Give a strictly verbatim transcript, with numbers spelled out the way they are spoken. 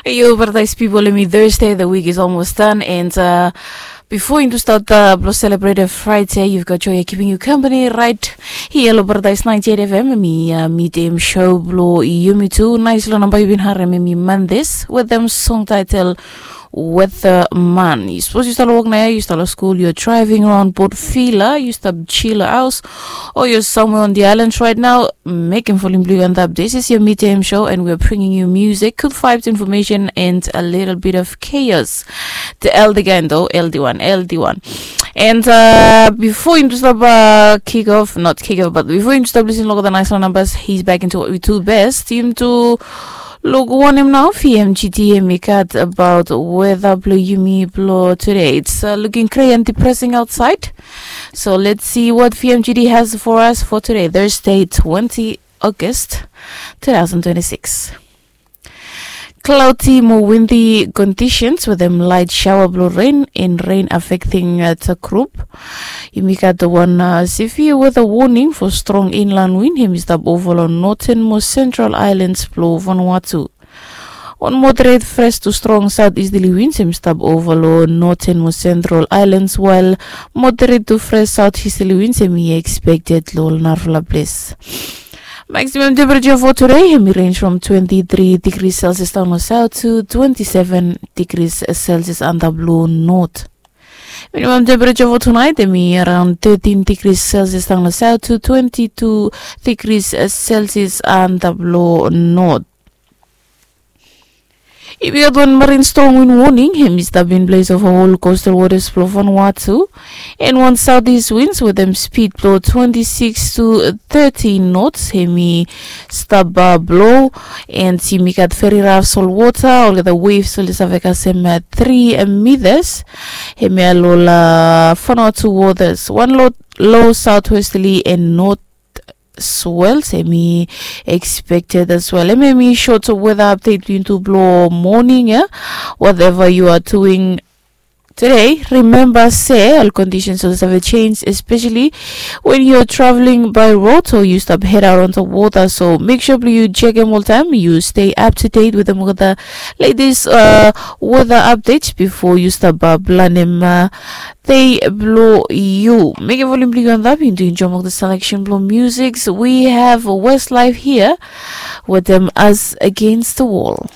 Yo, paradise people, em i Thursday, the week is almost done, and uh, before you start uh, blo celebrate a Friday, you've got Joy keeping you company right here lo Paradise ninety-eight F M, em i uh, midem show blo yumi tu. Nice lo namba you've been harem, em i Mondays with them song title Weatherman. Yu sapos yu stap lo wok nao ya, yu stap lo skul, yu driving around Port Vila, yu stap chill lo haos, or you're somewhere on the islands right now, mekem volim blo yu antap. This is your midtime show and we're bringing you music, good vibes, information and a little bit of chaos. The L D gang though, L D one, L D one. And uh, before you stop uh, kick off, not kick off, but before you stop listening to the nice numbers, he's back into what we do best. Him to look one him now, V M G D, and we got about weather blo yumi blo today. It's uh, looking gray and depressing outside. So let's see what V M G D has for us for today, Thursday, twenty August, two thousand twenty-six. Cloudy mo windy conditions with them light shower blo rain and rain affecting uh, the group. Yumi gat wan uh, severe weather warning for strong inland wind, hemi stap ova lo northern mo central islands blo Vanuatu. Wan moderate fresh to strong southeasterly winds hemi stap ova lo northern mo central islands, while moderate to fresh southeasterly winds hemi expected lo narafala ples. Maximum temperature for today hemi range from twenty-three degrees Celsius down lo south to twenty-seven degrees Celsius antap lo north. Minimum temperature for tonight hemi around thirteen degrees Celsius down lo south to twenty-two degrees Celsius antap lo north. Yumi gat wan marine storm wind warning hemi stap in place of all coastal waters blo Vanuatu, and wan southeast winds with them speed blo twenty-six to thirty knots hemi stap uh, blo, and yumi gat very rough salt water, olgeta waves oli save kasem uh, three meters. Hemi alo lo Vanuatu waters, wan lo low southwesterly and north swells hemi expected as well. Hemi hemi short weather update blo yumi tu blo morning ya. Whatever you are doing today, remember se all conditions oli save change, especially when you're traveling by road or you stap head out on the water. So make sure blo yu chekem oltaem, yu stay up to date with them, with the latest uh, weather updates before yu stap uh, planem uh, dei blo yu. Mekem volim blo yu antap, yu tu enjoy mo the selection blo music. We have Westlife here with them, Us Against the Wall.